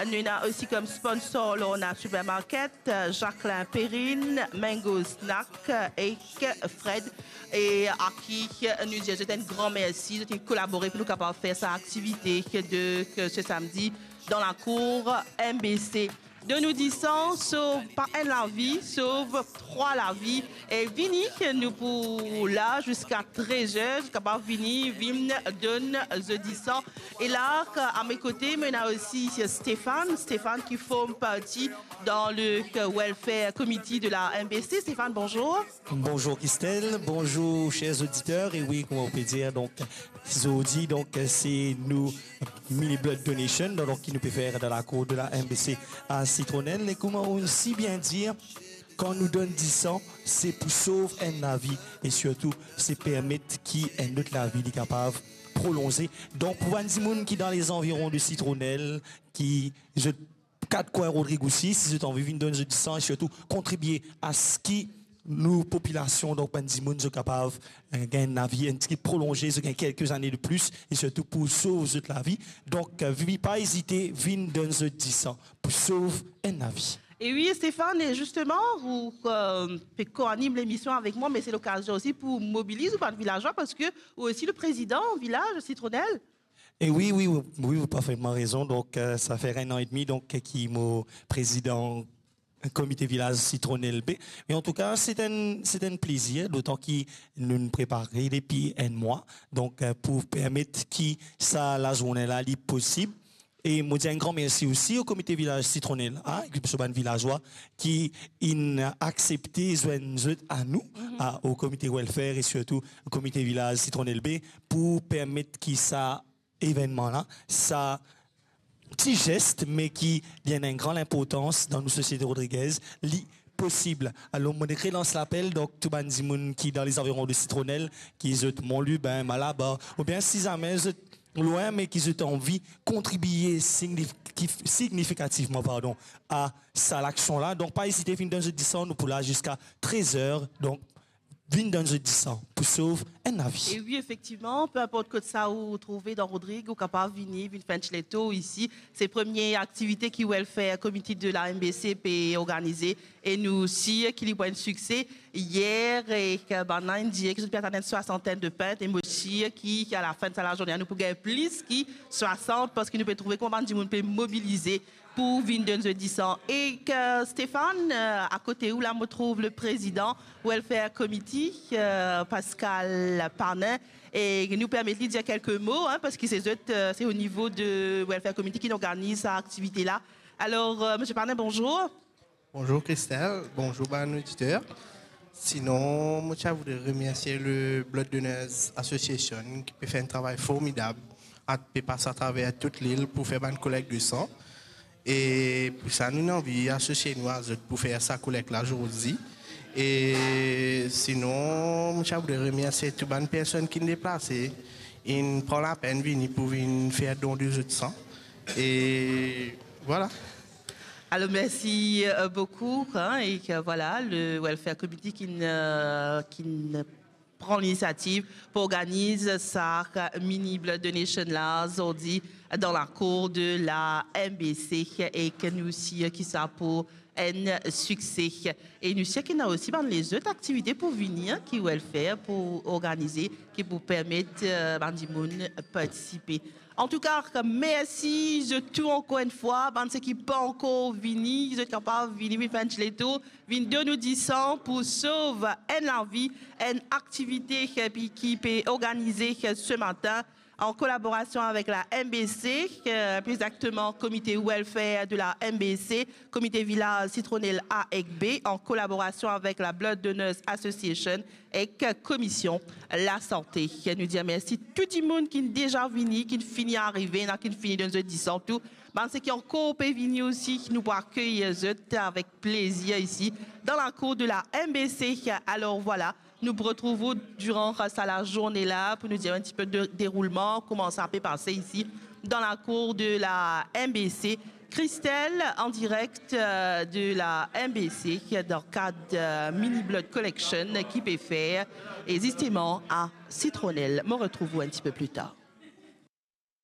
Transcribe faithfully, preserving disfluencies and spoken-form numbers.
Nou ena osi kom sponsor Lorna Supermarket, Jacquelin Perrine, Mango Snack ek Fred. E a ki nou dir zot enn gran mersi, zot inn kolabore pou nou kapav fer sa aktivite de, ke se samdi dan lakour M B C. Donn nou disan, sov pa enn lavi, sov trwa lavi. E vini, nou pou la ziska trez er, zot kapav vini, vinn donn zot disan. E la, a me kote, mo ena osi Stéphane, Stéphane ki form parti dan le welfare committee de la M B C. Stéphane, bonzour. Bonzour Christelle, bonzour chers auditeurs. E wi, kouma ou pe dir, donk, zordi, donk, se nou mini blood donation, donk, ki nou pe fer dan lakour de la M B C a Citronelle. E kouma ou si bien dir, kan nou donn disan, se pou sov enn lavi e sirtou, se permet ki enn lot lavi li kapav prolonze. Donk, pou bann dimoun ki dan lezanviron de Citronelle, ki zot kat kwin Rodrig osi, si zot anvi vinn donn zot disan e sirtou kontribie a se ki nou popilasion, donk bann dimoun, zot kapav, eh, gagn enn lavi enn tigit prolonze, zot gagn kelke zane de plis, e sirtou pou sov zot lavi. Donk, eh, vi-, pa ezite, vinn donn zot disan pou sov enn lavi. E wi, Stéphane, e zisteman, ou, eh, pe koanim lemision avek mwa, me se lokazion osi pou mobiliz ou bann vilazwa, parski ou osi le prezidan vilaz Citronelle. E wi, wi, wi, wi, ou parfetman rezon. Donk, eh, sa fer enn an edmi, donk, ki mo prezidan komite vilaz Citronelle B. Me antouka, se enn, se enn plezir, dotan ki nou'nn prepare depi enn mwa, donk, eh, pou permet ki sa lazourne la, li posib. E mo dir enn gran mersi osi o komite vilaz Citronelle A, ek so bann vilazwa ki inn aksepte zwenn zot a nou, a, o komite welfare e sirtou o komite vilaz Citronelle B, pou permet ki sa evennman la, sa ti zes, me ki li ena enn gran linportans dan nou sosiete rodrigez, li posib. Alor, mo relans lapel, donk, tou bann dimoun ki dan lezanviron de Citronelle, ki zot Mont Lubin, Malabar, oubien si zame zot lwin, me ki zot anvi kontribie signif-, kif-, signifikativman, pardon, a sa laksion la, donk, pa ezite vinn donn zot disan, nou pou la ziska trez er, donk, vinn donn zot disan pou sov enn lavi. E wi, efektivman, pe inport kot sa ou trouve dan Rodrig, ou kapav vini, vinn fer enn ti letour isi. Se premie aktivite ki Welfare Committee de la M B C pe organize, e nou sir ki li pou enn sikse. Yer, e, bann la inn dir ki zot pe atann enn swasantenn de pint, e mo sir ki, ki a lafin de sa lazourne, nou pou gagn plis ki swasant, parski nou pe trouve kouma bann dimoun pe mobilize pou vinn donn zot disan. E, eh, Stéphane, eh, akote ou la, mo trouv le prezidan Welfare Committee, eh, Pascal Panin, e nou permet li dir kelke mo, hein, parski se zot, eh, se o nivo de Welfare Committee ki nou organiz sa aktivite la. Alor, eh, Misie Panin, bonzour. Bonzour Christelle, bonzour bann oditer. Sinon, mo ti a voudre remersie le Blood Donors Association ki pe fer enn travay formidab, a pe pas atraver tou lil pou fer bann kolek de san. E pou sa, nou anvi asosie nou a zot pou fer sa kolek la zordi. E sinon, mo ti a voudre remersie tou bann personn ki deplase, inn pran lapenn vini pou vinn fer don de zot san. E vwala. Alor, mersi, eh, boukou, hein, e ke, vwala, le Welfare Committee ki'nn, eh, ki'nn pran linisiativ pou organiz sa mini blood donation la, zordi, dan lakour de la M B C, e ke nou sir ki sa pou enn sikse. E nou sir ki ena osi bann lezot aktivite pou vini, hein, ki Welfare pou organize, ki pou permet, eh, bann dimoun partisipe. Antouka, mersi zot tou ankor enn fwa. Bann seki pa ankor vini, zot kapav vini, vinn fer enn ti letour, vinn donn nou disan pou sov enn lavi, enn aktivite ki, ki pe organize se matin an kolaborasion avek la M B C, eh, pli egzakteman Komite Welfare de la M B C, Komite Vilaz Citronelle A ek B, an kolaborasion avek la Blood Donors Association ek Komision Lasante. Nou dir mersi tou dimoun ki'nn deza vini, ki'nn fini arive, ena ki'nn fini donn zot disan tou. Bann seki ankor pe vini osi, nou pou akeyir zot avek plezir isi, dan lakour de la M B C. Alor vwala, nou pou retrouv ou diran sa lazourne la pou nou dir enn ti pe de deroulman, kouma sa pe pase isi, dan lakour de la M B C. Christelle, an direk, eh, de la M B C, dan kad, eh, mini blood collection ki pe fer, e zisteman a Citronelle. Mo retrouv ou enn ti pe pli tar.